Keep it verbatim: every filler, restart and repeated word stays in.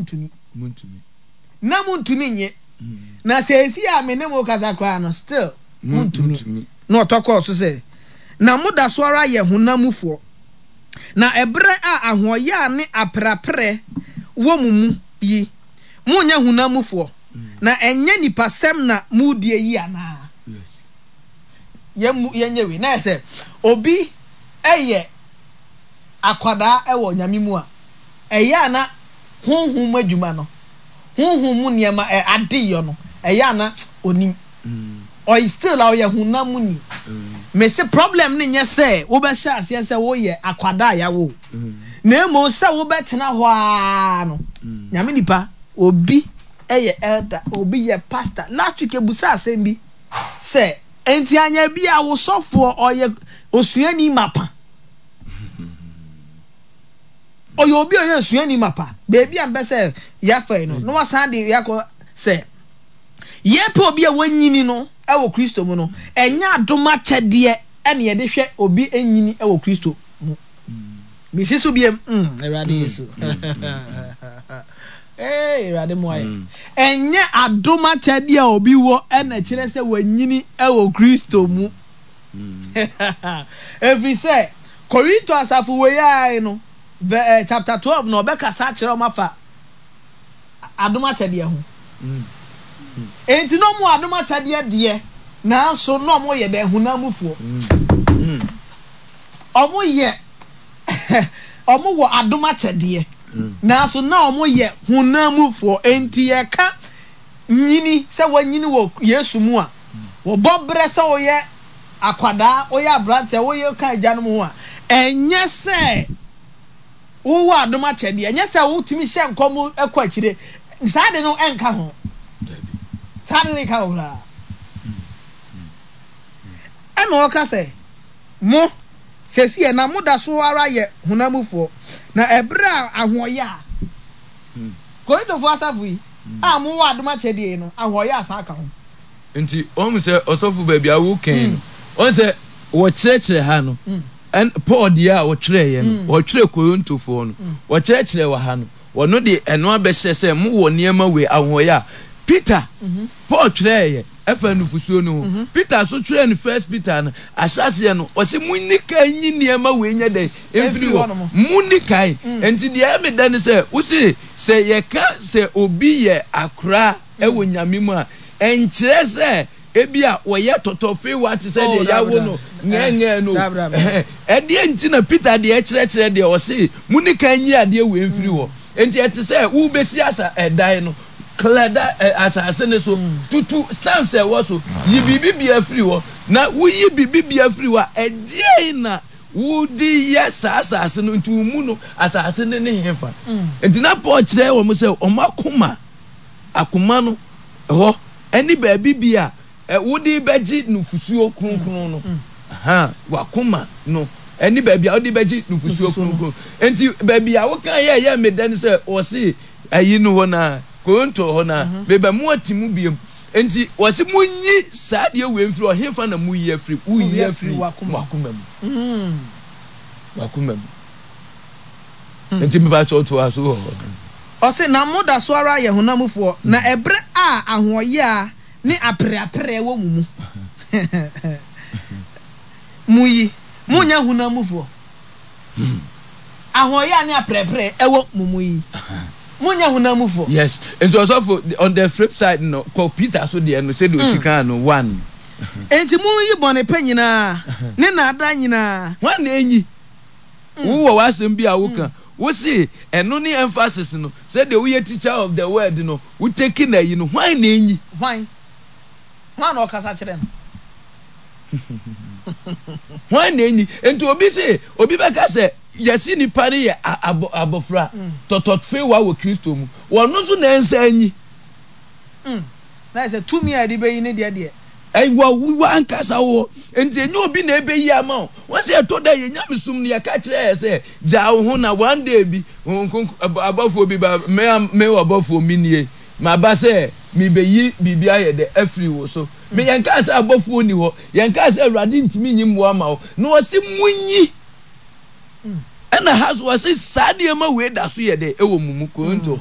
Montumi. Montumi. Na montumi nye. Na seesei a me ne mo kasa koraa no, still montumi. Na ɔtɔ kɔɔ so sɛ, Na moda so ara yɛ honam mufoɔ. Na ɛberɛ a ahoɔyaa ne apereapereɛ wɔ mo mu yi, monyɛ honam mufoɔ, na ɛnyɛ nipasɛm na moredie yi anaa? Yɛmmu yɛnyɛ wei. Na yɛ sɛ obi yɛ akwadaa wɔ Nyame mu a, ɛyɛ a na honhom mu adwuma no, honhom mu nneɛma, ɛ, adeyɔ no, ɛyɛ a na onim. Ɔy still a ɔyɛ honam mu ni. Mese problem no nyɛ sɛ wobɛhyɛ aseɛ sɛ woyɛ akwadaa a yɛawo wo, na mmom sɛ wobɛtena hɔ ara no. Nyame nipa, obi yɛ elder, obi yɛ pastor. Last week yɛbusaa asɛm bi sɛ, enti anyɛ bi a wo sɔfoɔ ɔyɛ osuani mapa? Ɔyɛ obi a ɔyɛ osuani mapa. Baabi a mpɛ sɛ yɛafa yi no, na wasan de yɛakɔ sɛ yɛpɛ obi a wanyini no wɔ Kristo mu no, ɛnyɛ adom akyɛdeɛ ɛna yɛde hwɛ obi nyini wɔ Kristo mu. Mesi so biem, mm, Awurade Yesu. Ee, Awurade mmoa yɛn. Ɛnyɛ adom akyɛdeɛ a obi wɔ ɛna kyerɛ sɛ wanyini wɔ Kristo mu. Ɛfiri sɛ, Korinto asafo wei ara yi no, vɛ, eh, chapter twelve na ɔbɛkasa akyerɛ wɔn afa adom akyɛdeɛ ho. Enti na wɔn adom akyɛdeɛ deɛ, nanso na wɔn yɛ dɛn? Honam mufoɔ. Wɔn yɛ, wɔn wɔ adom akyɛdeɛ, nanso na wɔn yɛ honam mufoɔ. Enti yɛka nyini sɛ wɔanyini wɔ Yesu mu a, wɔbɔ berɛ sɛ woyɛ akwadaa, woyɛ aberanteɛ, woyɛ ka agyanom ho a, ɛnyɛ sɛ wowɔ adom akyɛdeɛ, ɛnyɛ sɛ wotumi hyɛ nkɔm kɔ akyire, saa de no ɛnka ho. Saa de no nka ho koraa. Ɛna ɔka sɛ, mo, seesei na moda so ara yɛ honam mufoɔ, na ɛberɛ a ahoɔyɛ a, Korintofoɔ asafo yi a mowɔ adom akyɛdeɛ yi no, ahoɔyɛ asan aka ho. Nti wɔn sɛ ɔsɔfo baabi a wokɛn no, wɔn sɛ wɔkyerɛkyerɛ ha no, ɛn Paul deɛ a wɔtwerɛeɛ no, wɔtwerɛ Korintofoɔ no, wɔkyerɛkyerɛ wɔ ha no, wɔno de ɛno abɛhyɛ sɛ mowɔ nneɛma wei ahoɔyɛ a Peter, Paul twerɛeɛ ɛfa nufusuo no ho. Peter nso twerɛɛ no First Peter no ahyɛaseɛ no, ɔse monni kan nyi nneɛma wei nyɛ dɛn mfiri hɔ. Monni kan. Nti deɛ ɛyɛ me dɛ ne sɛ, wose sɛ yɛka sɛ obi yɛ akora wɔ Nyame mu a, ɛnkyerɛ sɛ ebia wɔyɛ tɔtɔfewa te sɛ deɛ yɛawo no ngɛɛngɛɛ no. Ɛdeɛ nti na Peter deɛ kyerɛkyerɛ deɛ ɔse monni kan nyi adeɛ wei mfiri hɔ. Nti ɛte sɛ wobɛsi asa ɛdan no, clear da ɛ asase no so, tutu stamps a ɛwɔ so, yi biribi biara firi hɔ. Na woyi biribi biara firi hɔ a, ɛdeɛn na wode yɛ saa asase no? Nti wo mu no, asase no ne hefa? Nti na Paul kyerɛ wɔn sɛ wɔn akoma, akoma no hɔ ɛne baabi bi a wode bɛgye nufusuo kronkron no. Ha, wakoma no ɛne baabi a wode bɛgye nufusuo kronkron. Nti baabi a woka yɛ ɛyɛ me dɛ no sɛ wɔse ayi no hɔ na Korinto hɔ na mhm. meba mu ate mu biem. Nti wɔse monyi saa deɛ wei mfiri ɔhefa na moyi afiri woyi afiri wakoma mu. Mm. Wakoma mu. Mm. Nti mepa kyɛw to aso wɔ hɔ. Ɔse na moda so ara yɛ honam mufoɔ, na ɛberɛ a ahoɔyea ne apereapereɛ wɔ mo mu mu yi, monyɛ honam mufoɔ. Ahoɔyea ne apereapereɛ ɛwɔ mo mu yi, monyɛ honam mufoɔ. Yes, nti ɔsɔfo on the flip side no, kɔ Peter so deɛ no sɛdeɛ ɔsi kaa no one. Enti monyi bɔnepɛ nyinaa ne nnaadaa nyinaa. Hwan na enyi? Wowɔ w'asɛm bi a woka. Wo se ɛno ne emphasis no. Sɛdeɛ woyɛ teacher of the word no, wo take no ayi no, hwan na enyi? Hwan? Hwan na ɔkasa kyerɛ no? Hwan na enyi? Nti obi se, obi bɛka sɛ, yɛse nipa no yɛ abɔfra, tɔtɔfewa wɔ Kristo mu. Wɔno nso na ɛnsa anyi. Mm. Na yɛ sɛ tumi a yɛde bɛyi ne deɛ deɛ. Ɛwɔ wo ankasa wo hɔ. Nti ɛnyɛ obi na ɛbɛyi ama wo. Wɔn sɛ ɛtɔ da yɛ nyamesom no yɛka kyerɛ yɛ sɛ gyaa wo ho na one day bi abɔfoɔ bi ba me me ɔbɔfoɔ me nie maba sɛ mebɛyi biribi ayɛ dɛ afiri wo so. Me yɛn kaa sɛ abɔfoɔ ni hɔ. Yɛn kaa sɛ Awurade ntumi nyi mmoa ma wo. Na wɔsi munyi. Ɛna ha so wɔsi saa nneɛma wei da so yɛ dɛ ɛwɔ mu mu Korinto hɔ.